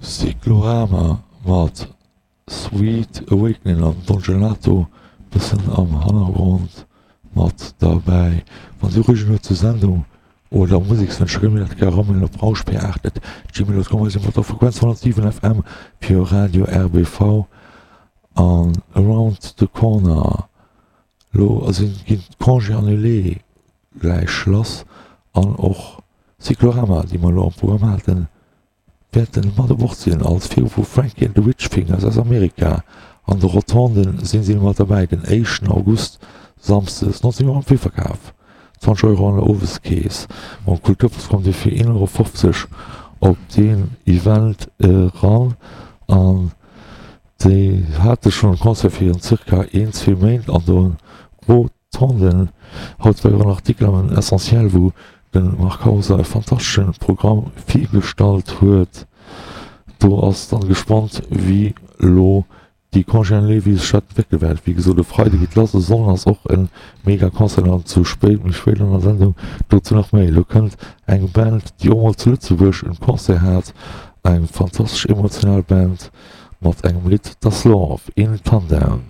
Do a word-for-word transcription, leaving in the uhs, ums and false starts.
Cyclorama mat Sweet Awakening an Don Gelato bëssen am Hannergrond mat derbäi. Wann Dir Reegen huet zur Sendung oder Musekswënsch, kënnt mir dat gär eramailen op rauschp acht at gmail dot com. Mir si mat der Frequenz honnertsiwen F M fir Radio R B V an Around the Corner. Lo sinn ginn d'Congés annulés gläich lass an och Cyclorama, déi mer elo am Programm haten, wäerten mat u Bord sinn als viru vu Frankie and the Witch Fingers aus Amerika. An de Rotonden sinn si mat derbäi den éischten August, samsdes neunzehn Auer am Virverkaf, zwanzeg Euro an der Oweskeess. Mam Kulturpass kommt Dir fir een Euro fofzeg op deen Event eran. An déi hate schonn e Concert virun zirka een, zwee Méint an de Rotonden. Haut war jo och en Artikel am Essentiel, wou de Marc Hauser e fantastesche Programm virgestallt huet. Do ass dann gespannt, wéi elo déi Congé annulé, wéi sech dat entwéckele wäert. Wéi gesot, e Freide geet lass, e Sonnden ass och e mega Concert an zu spéit, méi spéit an der Sendung dozou nach méi. Elo kënnt eng Band, déi och mol zu Lëtzebuerg en Concert hat, eng fantastesch emotional Band mat engem Lidd, Das Love in Tandem.